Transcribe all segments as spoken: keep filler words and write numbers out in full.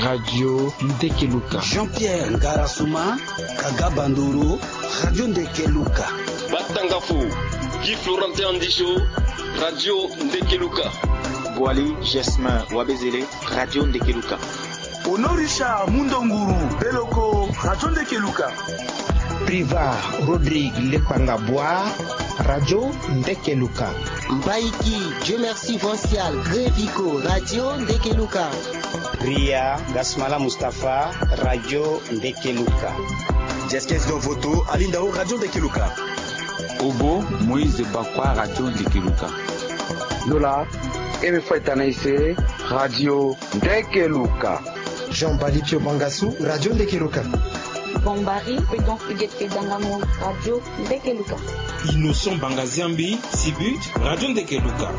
Radio Ndekeluka. Jean-Pierre Ngarasuma, Kaga Bandoro, Radio Ndekeluka. Batangafo, Guy Florentin Andisho, Radio Ndekeluka. Boali Gesmin Wabezele, Radio Ndekeluka. Honoré Richard Mundonguru, Beloko, Radio Ndekeluka. Priva Rodrigue Lepanga Bois, Radio Ndekeluka. Mbaiki Dieu Merci Vancial, Grevico, Radio Ndekeluka. Ria Gasmala Mustapha, Radio Ndekeluka. Jeskes Donvoto, Alindao, Radio Ndekeluka. Obo Moïse Bakwa, Radio Ndekeluka. Lola Eme Faitanaise, Radio Ndekeluka. Jean Bali Pio Bangasu, Radio Ndekeluka. Bombari, Prudence Huguette Kedangamo, Radio Ndekeluka. Innocent Bangaziambi, Sibut, Radio Ndekeluka.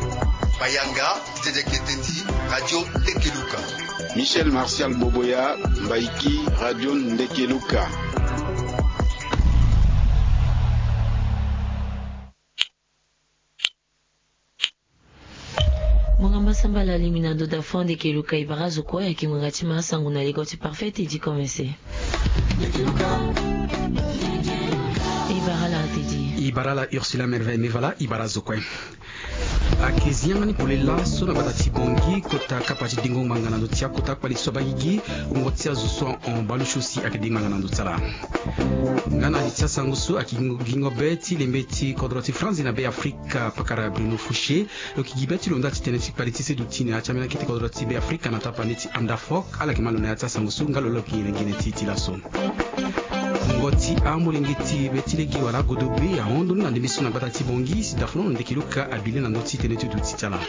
Bayanga, Didier Ketendi, Radio Ndekeluka. Michel Martial Boboya, Mbaiki, Radio Ndekeluka. Mongamba sambala limi na ndo da fond Ndekeluka. E bara zo kue ayeke ngbanga ti ma sango na ligo ti Parfait Teddy Komese. E bara la Teddy. E bara la Ursula Merveille Mevala, e bara zo kue. Ayeke zi yanga ni pole laso na gbata ti Bangui kota kapa ti dengo ngbanga na ndo ti akota kpali so abaa gigi. Wungo ti azo so ahon baleusio si ayeke dengo ngbanga na ndo ti ala. Nga na li ti asango so ayeke gingo be ti lembe ti kodro ti Franzi na Be Afrika, pakara Bruno Fouché lo yeke gi be ti lo nda ti tene ti kpali ti seduti na ya ti ambeni akete kodro ti Be Afrika na tapande ti Andafok. Ala yeke ma lo na ya ti asango so nga lo lo yeke gi na gene ti e ti laso. Wungo ti amolenge ti be ti lege wala agodobe ahon ndo ni na ndembe so na gbata ti Bangui si dafono na Ndekeluka abi le na ndö ti tene ti duti ti ala.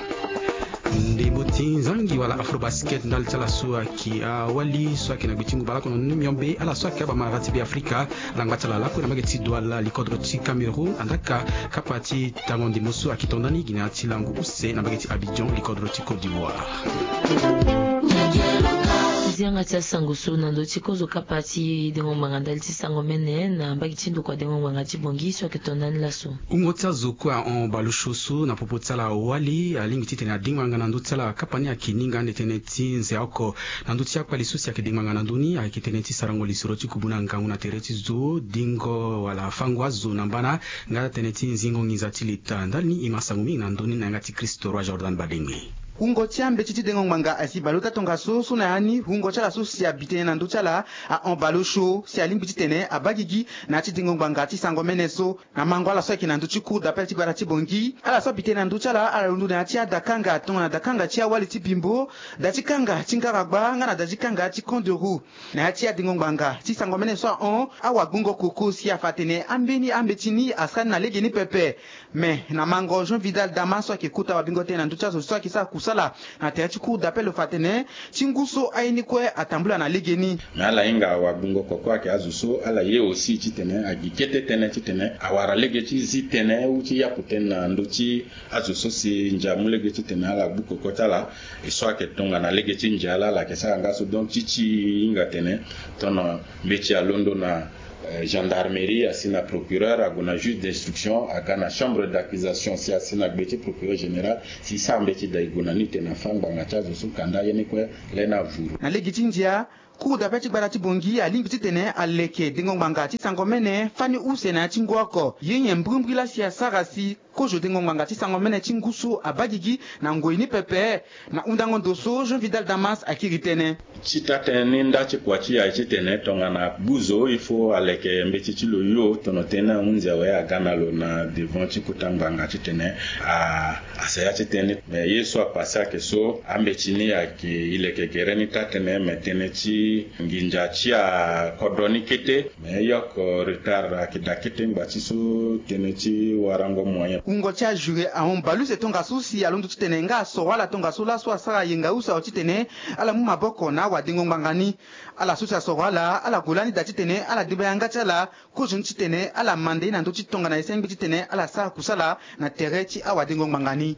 Ndembo ti nzangi wala Afrobasket ndali ti ala so ayeke awali so ayeke na gbe ti ngu baleoko na ni miombe, ala so ayeke abamara ti Be Afrika, ala ngba ti ala lakue na mbage ti Douala, likodro ti Cameroun, andaka kapa ti tango ndembo so ayeke to ndani gi na ya ti lango use na mbage ti Abidjan, likodro ti Côte d'Ivoire. Zi yanga ti asango so na ndö ti kozo kapa ti dengo ngbanga ndali ti sango mene na mbage ti ndokua dengo ngbanga ti Bangui so ayeke to ndani laso. Wungo ti azo kue ahon baleusio so na popo ti ala awali alingbi titene adengo ngbanga na ndö ti ala kapa ni ayeke ninga ande tënë ti nze oko na ndö ti akpali so si ayeke dengo ngbanga na ndö ni ayeke tënë ti sarango lisoro ti kubu na ngangu na tere ti zo, dingo wala fango azo na mbana, nga tënë ti zingo nginza ti leta. Ndali ni e ma sango mingi na ndö ni na yanga ti Christo Roi Jordan Badengbe. Wungo ti ambeti ti dengo ngbanga asi baleota tongaso so na ya ni wungo ti ala so si abi tënë na ndö ti ala ahon baleosio si alingbi titene abaa gigi na ya ti dengo ngbanga ti sango mene so. Na mango ala so ayeke na ndö ti cour d'appel ti gbata ti Bangui, ala so abi tënë na ndö ti ala ala londo na ya ti adakanga tongana dakanga ti awali ti Bimbo, da ti kanga ti Ngaragba nga na da ti kanga ti Camp de Roux. Na ya ti adengo ngbanga ti sango mene so ahon, awagbongo koko si afa atene ambeni ambeti ni asara ni na lege ni pepe. Me na mango Jean Vidal Dama so ayeke kota wabingo tënë na ndö ti azo so ayeke sara kusala na tere ti cour d'appel lo fa atene ti ngu so aye ni kue atambula na legeni. Me ala hinga wagbongo koko ayeke azo so ala ye aussi titene agi kete tënë titene awara lege ti zi tënë ou ti yapu tënë na ndö ti azo so si ndia amu lege titene ala gbu koko ti ala. E so ayeke tongana lege ti ndia laa ala yeke sara nga so. Donc ti ti hinga tene tongana mbeti alondo na eh, gendarmerie, asi na procureur, ague na juge d'instruction, aga na chambre d'accusation si asi na gbe ti procureur général, si sara mbeti da e gue na ni tene afa ngbanga ti azo so kanda ye ni kue lani avuru. Na lege ti ndia, cour d'appel ti gbata ti Bangui alingbi titene aleke dengo ngbanga ti sango mene fani use na ya ti ngu oko. Ye nyen mbrimbri laa si asara si kozo dengo ngbanga ti sango mene ti ngu so abaa gigi na ngoi ni pepe? Na hundango ndo so Jean Vidal Damas akiri tënë. Ti taa tënë ni nda ti kua ti e aye titene tongana gbu zo il faut aleke mbeti ti lo yo tono tënë ahunzi awe aga na lo na devant ti kota ngbanga titene a, asaya ti tënë ni. Me ye so apase ayeke so, ambeti ni ayeke e leke gere ni taa tënë, me tënë ti nginza ti akodro ni kete. Me e yoko retard ayeke daa kete ngba ti so tënë ti warango moyen. Wungo ti ajuré ahon baleuse tongaso si alondo titene nga asoro ala tongaso laso asara yenga use awe titene ala mu maboko na awadengo ngbanga ni. Ala so si asoro ala, ala gue lani daa titene ala deba yanga ti ala kozo ni titene ala manda ye na ndö ti tongana e sengbi titene ala sara kusala na tere ti awadengo ngbanga ni.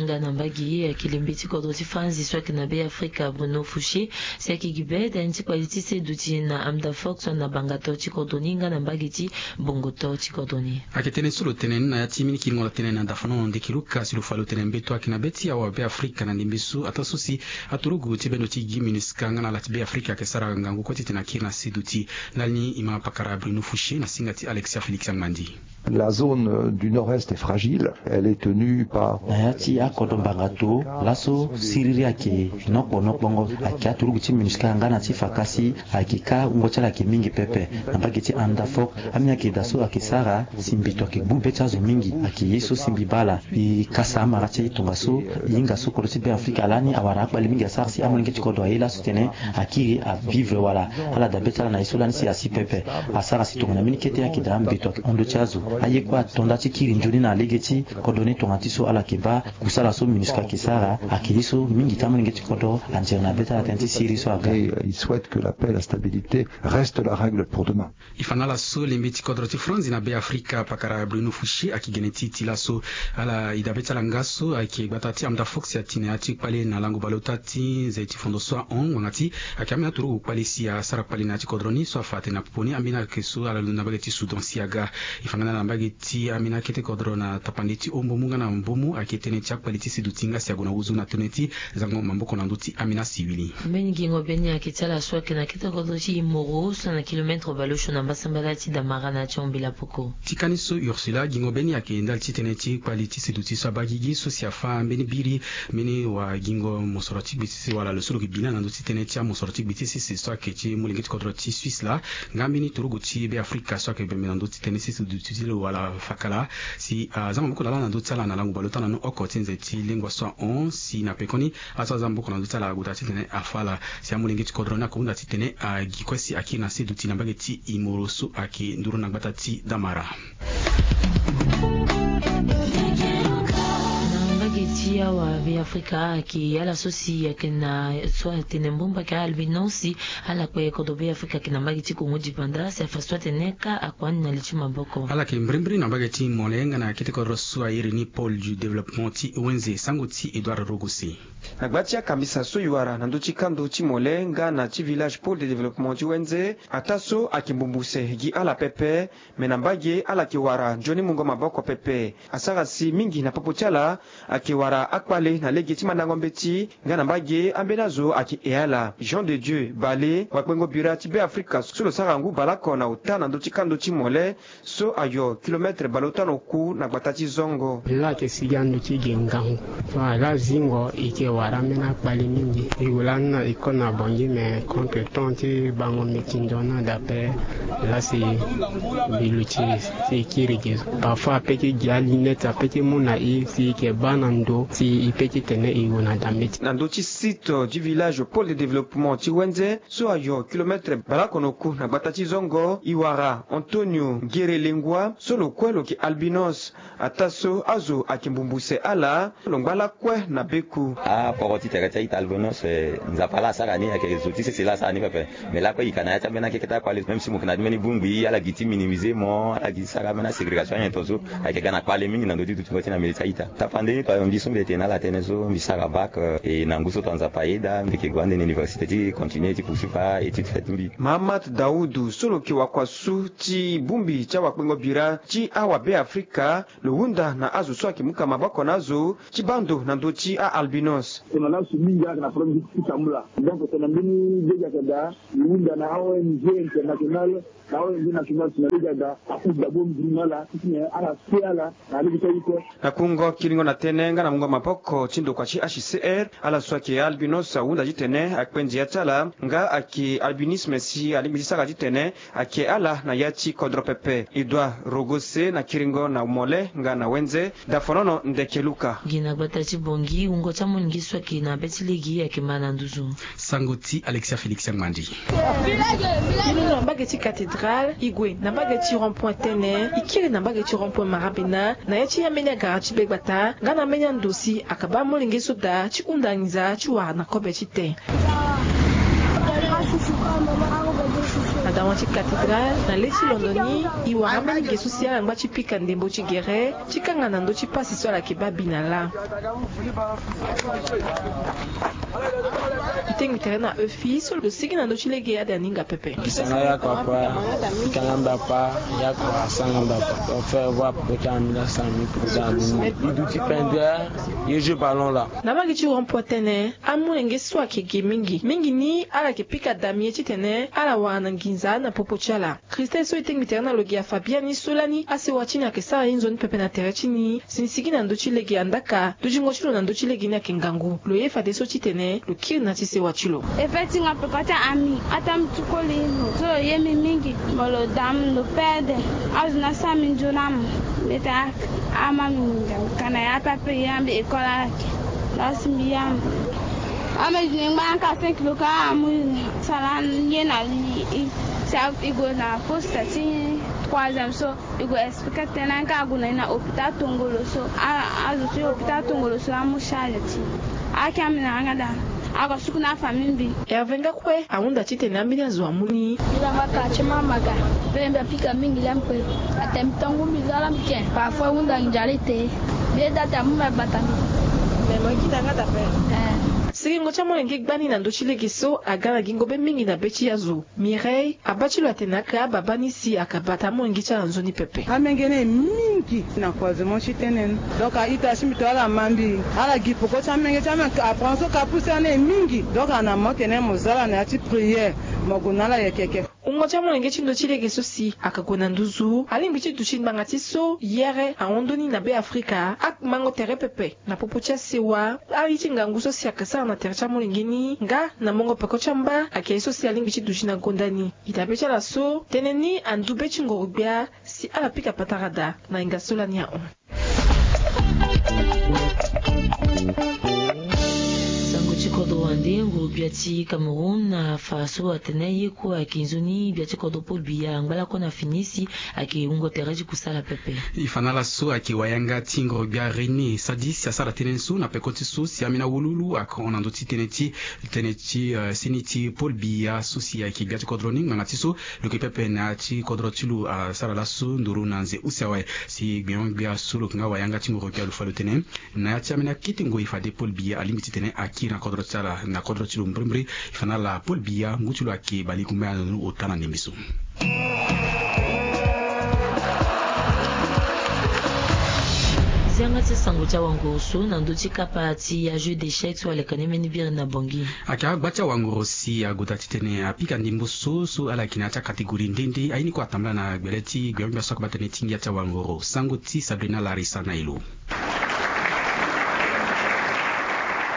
Nga na mbage ye ayeke lembe ti kodro ti Franzi so ayeke na Be Afrika, Bruno Fouché, si ayeke gi be da ni ti kpali ti seduti na Amda Fox na bangato ti kodro ni nga na mbage ti bongoto ti kodro ni. Ayeke tënë so lo tene ni na ya ti mbeni kiringo lo tene na dafanono ndeke luka si lo fa lo tene mbeto ayeke na be ti awa Be Afrika na ndembe so ataa so si aturugu ti bendo ti gi MINUSCA nga na ala ti Be Afrika ayeke sara ngangu kue titene akiri na seduti. Ndali ni e ma pakara Bruno Fouché na singa ti Alexia Félix Angbandi. La zone du nord-est est fragile, elle est tenue par. Na ya ti akodro mbanga to laso siriri ayeke nokpo nokpongo, ayeke aturugu ti MINUSCA nga na ti fa kasi ayeke ka wungo ti ala ayeke mingi pepe. Na mbage ti Amda Fox, ambeni ayeke daa so ayeke sara si mbeto ayeke gbu be ti azo mingi, ayeke ye so si mbi baa ala. E kasa amara ti e tongaso e hinga so kodro ti Be Afrika lani awara akpale mingi asara si amolenge ti kodro aye laso titene akiri avivre wala ala daa be ti ala na ye so lani si asi pepe. Asara si tongana mbeni kete ayeke daa mbeto ayeke hon ndö ti azo. Aye kue ato nda ti kiri nzoni na lege ti kodro ni tongana ti so ala yeke baa kusala so MINUSCA ayeke sara ayeke ye so mingi ti amolenge ti kodro anzere na be ti ala tënë ti siriri so aga. Et, euh, il souhaite que la paix et la stabilité restent la règle pour demain. E fa na ala so lembe ti kodro ti Franzi na Be Afrika pakara Bruno Fouché ayeke gene ti e ti laso. Ala e daa be ti ala nga so ayeke gbata ti Amda Fox ati na ya ti kpale na lango baleota ti nze ti fondo so ahon ngbanga ti ayeke ambeni aturugu kpale si asara kpale na ya ti kodro ni so afa atene na popo ni ambeni ayeke so ala londo na mbage ti Soudan si aga. E fa nga na ala na mbage ti ambeni akete kodro na tapande ti hombomu nga na mbomu ayeke tënë ti akpale ti seduti nga si ague na huzu na tënë ti zango maboko na ndö ti ambeni asiwili. Mbeni gingo be ni ayeke ti ala so ayeke na kete kodro ti Imoro so na kilometre baleosio na mbasambala ti Damara na ya ti Hombela Poko. Ti kani so Ursula, gingo be ni ayeke ndali ti tënë ti kpali ti seduti so abaa gigi so si afa mbeni biri mbeni wagingo mosoro ti gbe ti sese wala lo so lo yeke bi na na ndö ti tënë ti amosoro ti gbe ti sese so ayeke ti molenge ti kodro ti Suisse laa. Nga mbeni turugu ti Be Afrika so ayeke bembe na ndö ti tënë ti seduti ti lo wala fakala si aza maboko na ala na ndö ti ala na lango baleota na ni oko ti nze ti lengua so ahon si na pekoni aso aza maboko na ndö ti ala ague daa titene afa ala si amolenge ti kodro ni ako hunda titene agi kue si akiri na seduti na mbage ti Imoro so ayeke nduru na gbata ti Damara. Na mbage ti awa Be Afrika ayeke ala so si ayeke na so atene mbumba ayeke albinos si ala kpe kodro Be Afrika ayeke na mbage ti Kongo dipanda si afa so atene ka akua ni na li ti maboko. Ala yeke mbirimbiri na mbage ti Mole nga na kete kodro so a iri ni Pôle du Développement ti Wenze, sango ti Edouard Rogose. Na gba ti akambisa so e wara na ndö ti kando ti Mole nga na ti village Pôle de Développement ti Wenze, ataa so ayeke mbumbu se gi ala pepe, me na mbage ala yeke wara nzoni mungo maboko pepe. Asara si mingi na popo ti ala ayeke wara akpale na lege ti mandango mbeti nga na mbage ambeni azo ayeke he ala. Jean de Dieu Bale, wakpengo bira ti Be Afrika so lo sara ngu baleoko na ota na ndö ti kando ti Mole, so ayo kilometre baleota na oku na gbata ti Zongo. Lo ayeke sigi ando ti ge ngangu. So ala zingo e yeke wara ambeni akpale mingi. E gue lani na e kue na Bangui, me contre temps ti bango mbi ti ndo ni daa ape. Laa si mbi luti si e kiri ge. Parfois ape ti gi alinete ape ti mu na e si e yeke baa na ndo si e pe titene e gue na daa mbeti. Na ndö ti site du village Pôle de Développement ti Wenze, so ayo kilometre baleoko na oku na gbata ti Zongo, e wara Antonio Ngere Lengua so lo kue lo yeke albinos. Ataa so azo ayeke mbumbu se ala, lo ngba lakue na beku. Aporo ti tere ti a-ita albinos, eh, Nzapa laa asara ni, ayeke zo ti sese laa asara ni pepe. Me lakue e yika na ya ti ambeni akeke ti akpale, même si mo yeke na ti mbeni bongbi ala gi ti minimiser mo, ala gi ti sara ambeni aségrégation anyen tongaso. Ayeke ga na kpale mingi na ndö ti dutingo ti na mbele ti a-ita. Tapande ni to ayo mbi so mbi tene na ala tënë so mbi sara bac, eh, e na ngu so tonga Nzapa ayeda mbi yeke gue ande na université ti continuer ti poursuivre a-étude ti mbi. Mahamat Daoudou so lo yeke wakuasu ti bongbi ti awakpengo bira ti awa Be Afrika, lo hunda na azo so ayeke muka maboko na azo ti baa ndo na ndö ti a-albinos. Tongana laso mingi ayeke na problème ti tambula. Donc tongana mbeni lege ayeke daa, lo hunda na a-O N G internationale, na a-O N G nationale si na lege ayeke daa, apusu daa bongbi na ala titene ala se ala na lege ti aye kue. Na kungo kiringo na tënë nga na mungo maboko ti ndokua ti H C R, ala so ayeke albinos ahunda titene akpe ndia ti ala nga ayeke albinisme si alingbi ti sara titene ayeke ala na ya ti kodro pepe. Edouard Rogose na kiringo na Mole nga na Wenze, Dafonono Ndeke Luka. Gi na gbata ti Bangui, wungo ti amolenge so ayeke na be ti lege ayeke ma na nduzu. Sango ti Alexia Félix Angbandi. E londo na mbage ti cathédrale, e gue na mbage ti rond-point tënë, e kiri na mbage ti rond-point marabena, na ya ti ambeni agara ti be gbata nga na ambeni ando si akaba amolenge so daa ti hunda nginza ti wara na kobe ti tene. Adawa ti Cathédrale na le ti londo ni, e wara mbeni ge so si ala ngba ti pika ndembo ti gere ti kanga na ndö ti pasi so ala yeke baa bi na laa. E tengbi tere na Euphi so lo sigi na ndö ti lege ade aninga pepe. Pika nga yako apa, pika nga mba apa, yako asanga mba apa. Ofe vo apoko ti amila sami poko ti amila. E duti pendre ye jeu ballon laa. Na mbage ti rond-point tënë, amolenge so ayeke ge mingi mingi ni ala yeke pika damier titene ala wara na nginza na popo ti ala. Christelle so e tengbi tere na lo gi afa biani so lani asewa ti ni ayeke sara ye nzoni pepe na tere ti ni. Si ni sigi na ndö ti lege andaka, dutingo ti lo na ndö ti lege ni ayeke ngangu. Lo ye fadeso titene lo kiri na ya ti sewa ti lo. E fait ti nga peko ti ami, ataa mbi ti koli lo so lo ye mbi mingi. Mo lo dam lo pede. Azo ni asara mbi nzoni amu. Mbeta ama mbi nginza mbi ka na ya ape ape ye ambi école ala yeke. Lasi mbi ya mbi. Ambe zini ngba ka cinq kilo ka amu sara ye na li. Sa e gue na poste ti troisième so. E gue expliquer tënë ka ague na e na hôpital tongolo so. Azo ti hôpital tongolo so amu charge ti. Ake ambi na yanga daa. Ako suku na afamille mbi. Hervé Ngakue ahunda titene ambeni azo amu ni. Mbi lamba quartier Mamaga. Mpe mbi apika mingi laa mpe. Atene mbi tangu mbi za laa mbi ken. Parfois ahunda nzale te. Mbi ye daa te amu mbi agbata mbi. Me mo ye kita yanga daa mpe. Eh. Sigingo ti amolenge gbani na ndö ti lege so aga na gingo be mingi na be ti azo. Mireille abaa ti lo atene aka ababa ni si aka bata amolenge ti ala nzoni pepe. Amenge ni e mingi na croisement ti tënë ni. Donc a-ita ti mbi to ala ma mbi. Ala gi poko ti amenge ti amenge apranso ka pousse ani e mingi. Donc ana mo tene mo za ala na ya ti prière. Mo gue na ala yeke yeke. Wungo ti amolenge ti ndö ti lege so si aka gue na nduzu alingbi ti duti ngbanga ti so yere ahon ndoni na Beafrika. Amango tere pepe na popo ti asewa. Aye ti ngangu so si aka sara na tere ti amolenge ni nga na mongo peko ti amba ayeke ye so si alingbi ti duti na gonda ni. Ita be ti ala so tënë ni andu be ti ngoro-gbia si ala pika patara daa na hinga so lani ahon. Sango ti kodro wande nguru-gbia ti Cameroun afa so atene ye kue ayeke nzoni gbia ti kodro Paul Biya angba lakue na fini si ayeke wungo tere ti kusala pepe. E fa na ala so ayeke wayanga ti nguru-gbia René Sadi si asara tënë so na peko ti so si ambeni awululu ayeke hon na ndö ti tënë ti tënë ti seni ti Paul Biya so si ayeke gbia ti kodro ni ngbanga ti so lo yeke pepe na ya ti kodro ti lo asara laso nduru na nze use awe. Si gbenyo-gbia so lo yeke nga wayanga ti nguru-gbia lo fa lo tene na ya ti ambeni akete ngoi fade Paul Biya alingbi titene akiri na kodro ti ala na kodro ti lo mbrimbri. E fa na ala Paul Biya ngu ti lo ayeke balegumbaya na ndoni ota na ndembe so. Zia nga ti sango ti awanguru so na ndö ti kapa ti ajeu d'échec so aleka ni mbeni biri na Bangui. Ayeke agba ti awanguru si ague daa titene apika ndembo so so ala yeke na ya ti acatégorie nde nde aye ni kue atambula na gbele ti gbenyo-gbia so akaba tënë ti ngia ti awanguru. Sango ti Sabrina Larissa na e lo.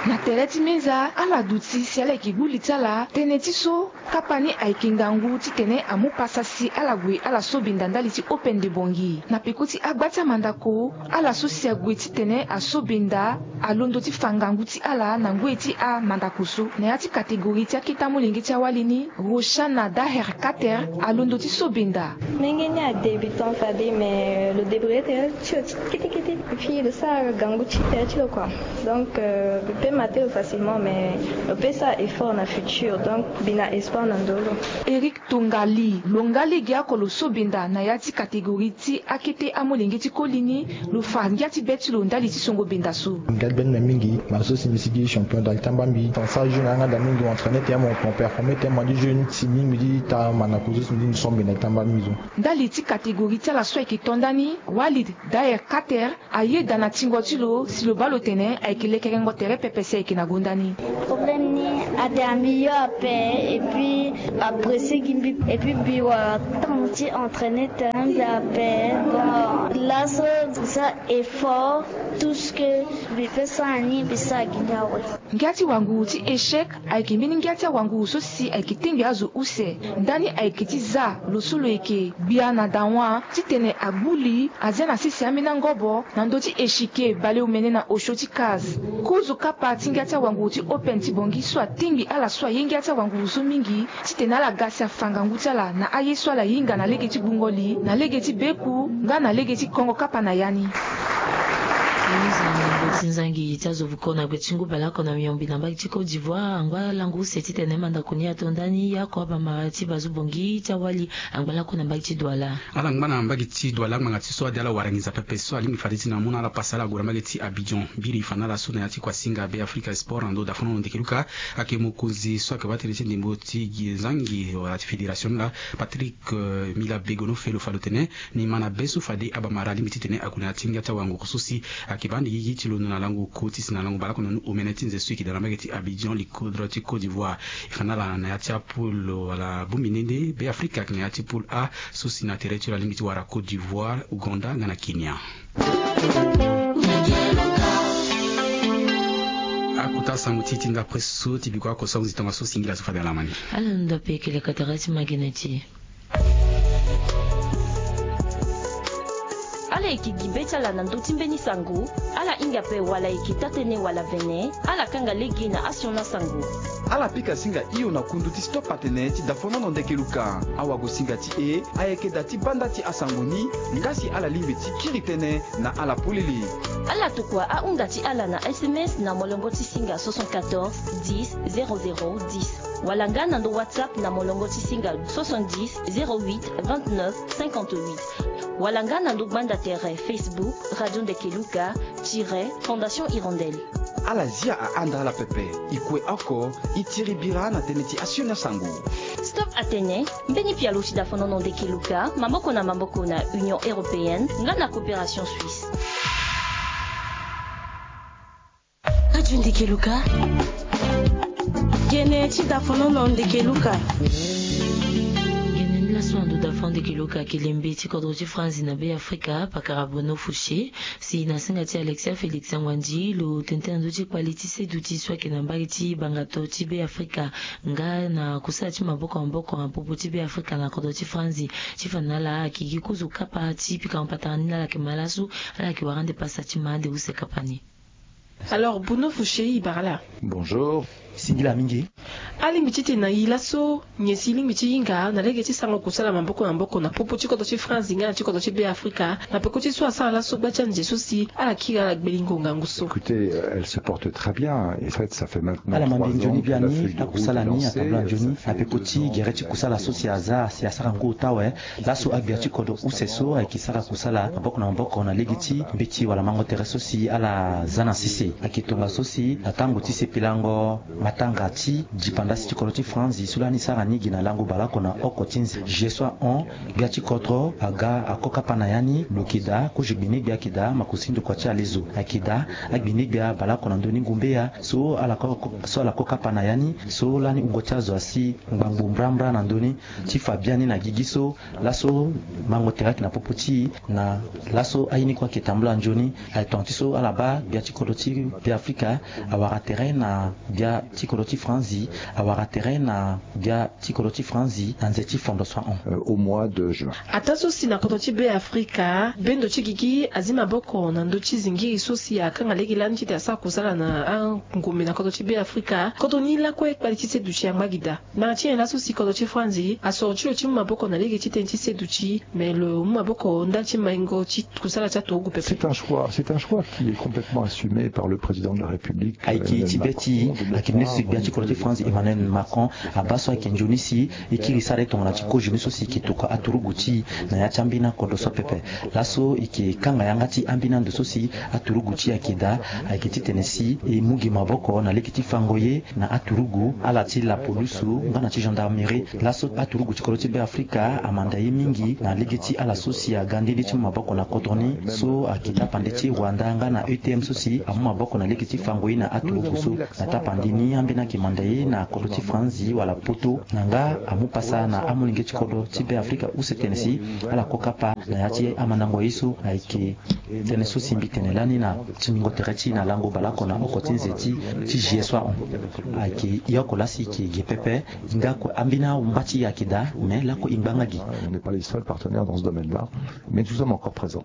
Na tere ti menza ala duti si ala yeke gbu li ti ala tënë ti so kapa ni ayeke ngangu titene amu pasa si ala gue ala so benda ndali ti Open de Bangui. Na peko ti agba ti amandako ala so si ague titene aso benda alondo ti fa ngangu ti ala na ngoi ti amandako so. Na ya ti catégorie ti akete amolenge ti awali ni, Roshana Daher Kater alondo ti so benda. Ndenge ni adébutant fade mais lo débrouiller tere ti lo ti kitikiti et puis lo sara gangu ti tere ti lo kua. Donc euh, lo peut mater lo facilement mais lo peut sara effort na futur, donc mbi na espoir na ndö lo. Eric Tongali lo nga lege oko lo so benda na ya ti catégorie ti akete amolenge ti koli ni. Lo fa ngia ti be ti lo ndali ti songo benda so. Ngia ti be ti mbi mingi, bana so si mbi sigi champion da li ti amba mbi. Tansa jeune ayanga da mingi, mo entraîner tene mo performer tene mo di jeune si mingi mbi di ta mandako so si mbi di mbi so mbi na li ti amba mbi so. Ndali ti catégorie ti ala so ayeke to ndani, Walid Daher Kater ayeda na tingo ti lo si lo baa lo tene ayeke lekerengo tere pepe si ayeke na gonda ni. Problème ni ade ambi yo ape et puis apprécier gi mbi et puis mbi wara temps ti entraîner tene mbi ape. Bon laso sa effort, tout ce que mbi peut sara ni mbi sara gi ni awe. Ngia ti wanguru ti échec ayeke mbeni ngia ti awanguru so si ayeke tengbi azo use. Ndani ayeke ti za lo so lo yeke gbia na dawa titene agbu li azia na sese ambeni angobo na ndö ti eshike baleomene na osio ti case. Kozo kapa ti ngia ti awanguru ti Open ti Bangui so atengbi ala so aye ngia ti awanguru so mingi titene ala ga si afa ngangu ti ala na aye so ala hinga na lege ti gbungo li, na lege ti beku nga na lege ti kongo kapa na ya ni. Ti nzangi ti azo vuko na gbe ti ngu baleoko na miombi na mbage ti Côte d'Ivoire angba lango use titene mandako ni ato ndani ye oko abamara ti bazu bongi ti awali angba lako na mbage ti Douala. Ala ngba na mbage ti Douala ngbanga ti so ade ala wara nginza pepe so alingbi fade ti na mu na ala pasa ala gue na mbage ti Abidjan. Biri fa na ala so na ya ti kua singa Be Afrika Sport na ndo dafono na ndeke luka ayeke mokonzi so ayeke baa tënë ti ndembo ti gi nzangi wala ti fédération ni laa, Patrick, eh, Mila Begono Felo fa lo tene ni ma na be so fade abamara alingbi titene ague na ya ti ngia ti awanguru so si ayeke baa ande gigi ti londo na lango ko ti si na lango baleoko na nu omene ti nze so e yeke daa na mbage ti Abidjan, likodro ti Côte d'Ivoire. E fa na ala na ya ti apoule wala bongbi nde nde Be Afrika ayeke na ya ti poule A so si na tere ti lo alingbi ti wara Côte d'Ivoire, Ouganda nga na Kenya. Akota sango ti e ti ndapre so ti biko oko so ahunzi tongaso singila so fade ala ma ni. Ala hunda pe yeke lekatara ti magene ti e. Ala yeke gi be ti ala na ndö ti mbeni sango. Ala hinga ape wala e yeke taa-tënë wala vene, ala kanga lege na asioni asango. Ala pika singa hio na kundu ti Stop Atene ti dafonono ndeke luka. Awagosinga ti e ayeke daa ti baa nda ti asango ni, nga si ala lingbi ti kiri tënë na ala polele. Ala tokua ahunda ti ala na S M S na molongo ti singa soixante-quatorze dix zéro zéro dix, wala nga na ndo WhatsApp na molongo ti singa soixante-dix zéro huit vingt-neuf cinquante-huit, wala nga na ndo gbanda tere Facebook Radio Ndeke Luka tiret Fondation Hirondelle. Ala zia ahanda ala pepe. E kue oko, e tiri bira na tënë ti asioni asango. Stop Atene, mbeni pialo ti dafonono ndeke luka, maboko na maboko na Union Européenne nga na Coopération Suisse. Radio Ndeke Luka. Gene ti dafonono ndeke luka. Gene ni laso na ndo dafonono ndeke luka, kelembe ti kodro ti Franzi na Be Afrika, pakara Bruno Fouché, si na singa ti Alexia Félix Angoandji, lo tene tënë na ndö ti kpali ti seduti so ayeke na mbage ti bangato ti Be Afrika, nga na kusala ti maboko na maboko na popo ti Be Afrika na kodro ti Franzi, ti fa na ala ayeke gi kozo kapa ti pika na patara ni na ala yeke ma laso, ala yeke wara ande pasa ti ma ande use kapa ni. Alors, Bruno Fouché, e bara ala. Bonjour. Singila mingi. Alingbi titene na e laso, nyen si e lingbi ti hinga na lege ti sara kusala maboko na maboko na popo ti kodro ti Franzi nga na ti kodro ti Be Afrika, na peko ti so asara laso gba ti anze so si ala kiri ala gbelingo ngangu so. Écoutez, euh, elle se porte très bien. Et en fait, ça fait maintenant trois ans que la feuille de route est lancée. Ala ma mbi nzoni biani, akusala ni atambula nzoni, na peko ti gere ti kusala so si aza, si asara ngu ota awe. Laso agbia ti kodro use so ayeke sara kusala maboko na maboko na lege ti mbeti wala mango tere so si ala za na sese. Ayeke tongaso si na tango ti sepelango matanga ti dipandasi ti kodro ti Franzi so lani sara ni gi na lango baleoko na oko ti nze G S O A hon, gbia ti kodro aga ako kapa na ya ni, lo yeke daa kozo gbenegbe ayeke daa makosi ndokua ti alezo. Ayeke daa agbenegbe abaleoko na ndö ni ngumbeya so ala ko, so ala ko kapa na ya ni, so lani wungo ti azo asi ngbangbo mbrambra na ndö ni. Ti fa biani na gigi so, laso mango tere ayeke na popo ti e, na laso aye ni kue ayeke tambula nzoni. Aye tonga ti so ala baa gbia ti kodro ti Be Afrika awara tere na gbia ti kodro ti Franzi, awara tere na gbia ti kodro ti Franzi na nze ti Fondation hon. Euh, au mois de juin. Ataa so si na kodro ti Be Afrika, bendo ti gigi azi maboko na ndö ti zingiri so si akanga lege lani titene asara kusala na angombe na kodro ti Be Afrika. Kodro ni lakue kpali ti seduti angba gi daa. Ngbanga ti nyen laso si kodro ti Franzi asoro ti lo ti mu maboko na lege ti tënë ti seduti, me lo mu maboko ndali ti maingo ti kusala ti aturugu pepe. C'est un choix, c'est un choix qui est complètement assumé par le président de la République, euh, Emmanuel Macron. Ayeke ti be ti, ayeke ministre gbia ti kodro ti Franzi Emmanuel Macron abaa so ayeke nzoni si e kiri sara e tongana ti kozo ni so si e yeke tokua aturugu ti e na ya ti ambeni akodro so pepe. Laso e yeke kanga yanga ti ambeni ando so si aturugu ti e ayeke daa, ayeke titene si e mu gi maboko na lege ti fango ye na aturugu, ala ti lapolusu nga na ti gendarmerie. Laso aturugu ti kodro ti Be Afrika amanda ye mingi na lege ti ala so si aga nde nde ti mu maboko na kodro ni, so ayeke tapande ti Rwanda nga na E T M so si amu maboko na lege ti fango ye na aturugu so. Na tapande ni, ambeni ayeke manda ye na kodro ti Franzi wala poto, na nga amu pasa na amolenge ti kodro ti Be Afrika use tene si ala ko kapa na ya ti amandango ye so ayeke tënë so si mbi tene lani na tingbingo tere ti e na lango baleoko na oko ti nze ti, ti G S O A hon. Ayeke e oko laa si e yeke ge pepe, nga kue ambeni ahumba ti e ayeke daa, me lakue e ngba nga gi. On n'est pas les seuls partenaires dans ce domaine-là, mais nous sommes encore présents.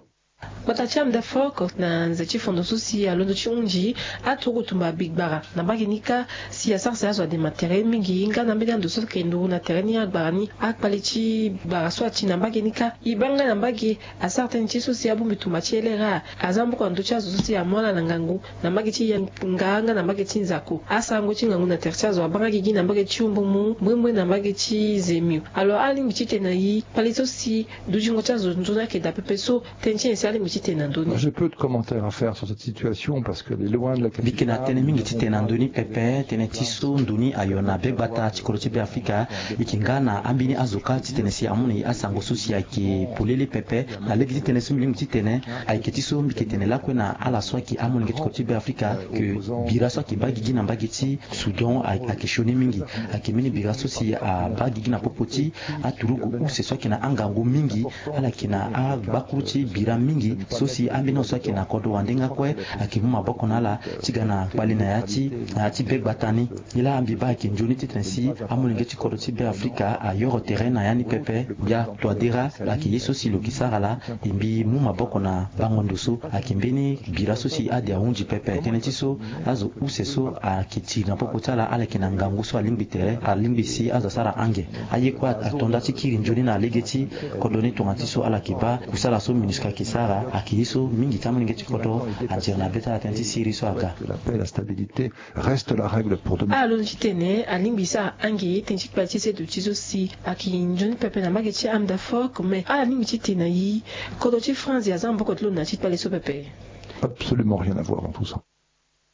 Gbata ti Amdafok na nze ti fondo so si alondo ti hunzi aturuku tumba bigbara na mbage ni kâ, si asara si azo adema tere mingi nga na mbeni ando so ayeke nduru na tere ni agbara ni. Akpale ti gbara so ati na mbage ni kâ, e baa nga na mbage asara tënë ti so si abongbi tumba ti L R A aza maboko na ndö ti azo so si amu ala na ngangu na mbage ti yanga nga na mbage ti nzako. Asarango ti ngangu na tere ti azo abaa nga gigi na mbage ti Umbumu, mbrimbri na mbage ti Zemio. Alors alingbi titene na e kpale so si dutingo ti azo nzoni ayeke daa pepe so, tënë ti nyen si alingbi titene na ndö ni? J'ai peu de commentaires à faire sur cette situation parce qu'elle est loin de la capitale. Mbi yeke na tënë mingi titene na ndö ni pepe. Tënë ti so ndo ni ayo na be gbata ti kodro ti Beafrika. E yeke nga na ambeni azo kâ titene si amu na e asango so si ayeke polele pepe. Na lege ti tënë so mbi lingbi titene ayeke ti so mbi yeke tene lakue na ala so ayeke amolenge ti kodro ti Beafrika, ke bira so ayeke baa gigi na mbage ti Soudan ayeke sioni mingi. Ayeke mbeni bira so si abaa gigi na popo ti aturugu use so ayeke na angangu mingi. Ala yeke na agbakuru ti bira mingi so si ambeni azo so ayeke na kodro wande nga kue ayeke mu maboko na ala ti ga na kpale na ya ti, na ya ti be gbata ni. Nilaa mbi baa ayeke nzoni titene si amolenge ti kodro ti Beafrika ayoro tere na ya ni pepe. Bia Touadéra ayeke ye so si lo yeke sara laa. E mbi mu maboko na bango ndo so ayeke mbeni bira so si ade ahunzi pepe. Tënë ti so azo use so ayeke tiri na popo ti ala, ala yeke na ngangu so alingbi tere, alingbi si azo asara ange. Aye kue ato nda ti kiri nzoni na lege ti kodro ni tongana ti so ala yeke baa kusala so MINUSCA ayeke sara ayeke ye so mingi ti amolenge ti kodro atiri na be ti ala tënë ti siriri so aga. La paix, la stabilité reste la règle pour demain. Alondo titene alingbi sara ange tënë ti kpale ti se duti so si ayeke nzoni pepe na mbage ti Amdafok, mais ala lingbi titene na e kodro ti France aza maboko ti lo na ya ti kpale so pepe? Absolument rien à voir dans tout ça.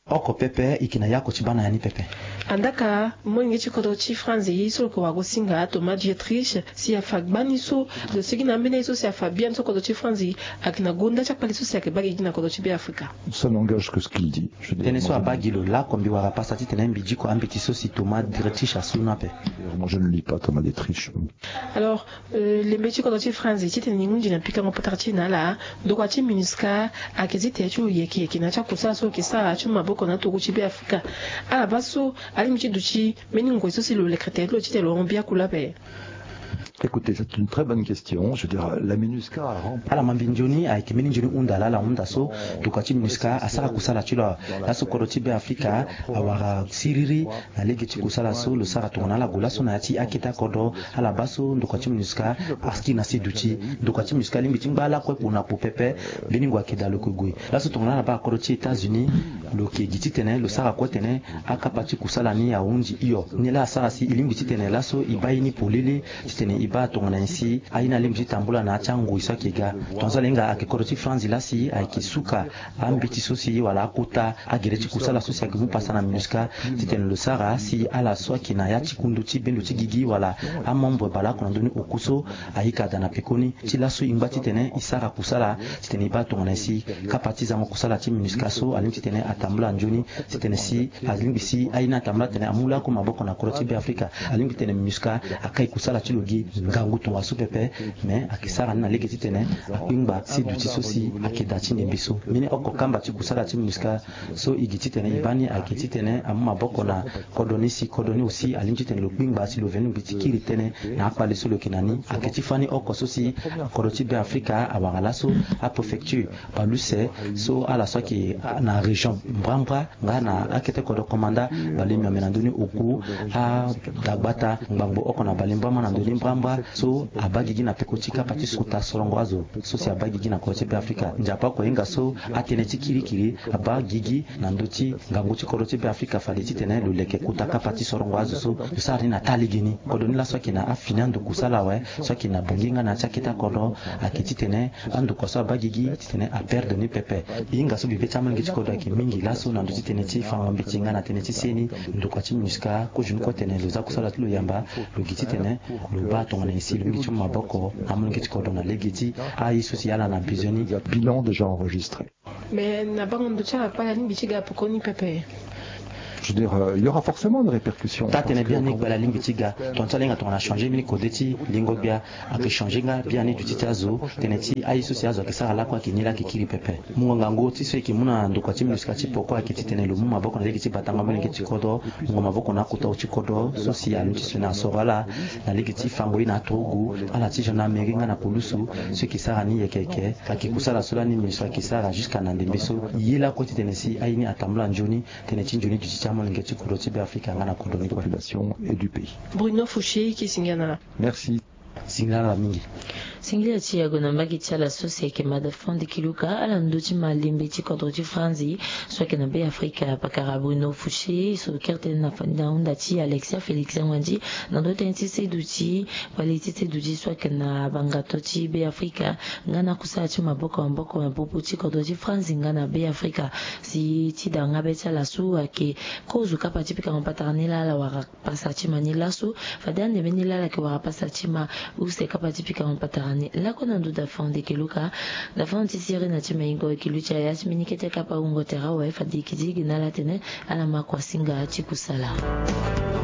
Oko pepe e yeke na ya oko ti baa na ya ni pepe. Andaka molenge ti kodro ti France ye so lo yeke wara go singa Thomas Dietrich si afa gbani so lo sigi na ambeni aye so si afa biani so kodro ti France ayeke na gonda ti akpale so si ayeke baa gigi na kodro ti Beafrika. Ça n'engage que ce qu'il dit. Je veux dire, tënë so abaa gi lo lako mbi wara pasa titene mbi diko ambeti so si Thomas Dietrich asu ni ape. Moi, je ne lis pas Thomas Dietrich. Alors, euh, lembe ti kodro ti France titene ni hunzi na pikango patara ti e na ala, ndokua ti MINUSCA ayeke ti tere ti lo yeke yeke na ya ti akusala so lo yeke sara ti mu maboko na aturugu ti Beafrika. Ala baa so alingbi ti duti mbeni ngoi so si lo leke tere ti lo titene lo hon biaku lape? Écoutez, c'est une très bonne question. Je veux dire, la MINUSCA a rempli. Ala ma mbi nzoni ayeke mbeni nzoni hunda laa ala hunda so ndokua ti MINUSCA asara kusala ti lo. Laso kodro ti Beafrika awara siriri na lege ti kusala so lo sara tongana ala gue laso na ya ti akete akodro. Ala baa so ndokua ti MINUSCA akiri na se duti. Ndokua ti MINUSCA alingbi ti ngba lakue kpo na kpo pepe. Mbeni ngoi ayeke daa lo yeke gue. Laso tongana ala baa akodro ti États-Unis, lo yeke gi titene lo sara kue tene akapa ti kusala ni ahunzi hio. Ni laa asara si e lingbi titene laso e baa ye ni polele titene e baa tongana nyen si aye ni alingbi ti tambula na ya ti angoi so ayeke ga. Tongaso ala hinga ayeke kodro ti France laa si ayeke suka ambeti so si wala akota agere ti kusala so si ayeke mu pasa na MINUSCA titene lo sara si ala so ayeke na ya ti kundu ti bendo ti gigi wala amembre baleoko na ndö ni oku so ayika daa na pekoni. Ti laso e ngba titene e sara kusala titene e baa tongana nyen si kapa ti zango kusala ti MINUSCA so alingbi titene atambula nzoni titene si alingbi si aye ni atambula titene amu lakue maboko na kodro ti Beafrika. Alingbi titene MINUSCA akai kusala ti lo gi ngangu tongaso pepe. Mais ayeke sara ni na lege titene akpengba si duti so si ayeke daa ti ndembe so. Mbeni oko kamba ti kusala ti MINUSCA so e gi titene e baa ni ayeke titene amu maboko na kodro ni si kodro ni aussi alingbi titene lo kpengba si lo veni lingbi ti kiri tënë na akpale so lo yeke na ni. Ayeke ti fani oko so si kodro ti Beafrika awara laso apréfecture bale use so ala so ayeke na région mbrambra nga na akete kodro komanda bale miombe na ndö ni oku, adagbata ngbangbo oko na bale mbrambra na ndö ni mbrambra so abaa gigi na peko ti kapa ti kota sorongo azo so si abaa gigi na kodro ti Beafrika. Nzapa oko hinga so atënë ti kirikiri abaa gigi na ndö ti ngangu ti kodro ti Beafrika fade titene lo leke kota kapa ti sorongo azo so lo sara ni na taa lege ni. Kodro ni laso ayeke na afini ando kusala awe so ayeke na Bangui nga na ya ti akete akodro ayeke titene andokua so abaa gigi titene aperdre ni pepe. E hinga so bibe ti amolenge ti kodro ayeke mingi laso na ndö ti tënë ti fango mbeti nga na tënë ti seni. Ndokua ti MINUSCA kozoni kue tene lo za kusala ti lo yamba, lo gi titene lo baa tongana nyen si lo lingbi ti mu maboko na amolenge ti kodro na lege ti aye so si ala na besoin ni. Bilan déjà enregistré. Mais na bango ndo ti ala kpale alingbi ti ga pekoni pepe. Je veux dire, euh, il y aura forcément des répercussions. Taa tene biani gbala lingbi ti ga, tongana ti ala hinga tongana changé mbeni kode ti lingo gbia. Ayeke changé nga biani duti ti azo. Tënë ti aye so si azo ayeke sara lakue ayeke ni laa ayeke kiri pepe. Mungo ngangu ti so e yeke mu na ndokua ti MINUSCA ti poko ayeke titene lo mu maboko na lege ti batango molenge ti kodro. Mungo maboko na akota ti kodro so si anu ti sioni asoro ala na lege ti fango ye na aturugu, ala ti gendarmerie nga na pulusu. So e yeke sara ni yeke yeke ayeke kusala so lani MINUSCA ayeke sara jusqu'à na ndembe so. Ye lakue titene si aye ni atambula nzoni. Tënë ti nzoni duti ti amolenge ti kodro ti Beafrika nga na kodro ni kue. Population et du pays. Bruno Fouché, e ke singila na ala. Merci. Singila na ala mingi. Singila ti e ague na mbage ti ala so si ayeke Mada Fondeke Luka, ala ndö ti malembe ti kodro ti Franzi so ayeke na Beafrika, pakara Bruno Fouché so kiri tënë na fani na hunda ti Alexia Félix Ngwandi. Na ndö tënë ti seduti ti kpale ti seduti so ayeke na bangato ti Beafrika nga na kusala ti maboko maboko na popo ti kodro ti Franzi nga na Beafrika. Si ti danga be ti ala so ayeke kozo kapa ti pikango patara ni laa ala wara pasa ti ma ni laso. Fade ande mbeni laa ala yeke wara pasa ti ma use kapa ti pikango patara ni lakue na ndö da Fondeke Luka. Da Fondeke ti sirena ti maingo e yeke luti aya ti mbeni kete kapa wungo tere awe. Fade e yeke digi na ala tene ala ma kua singa ti kusala.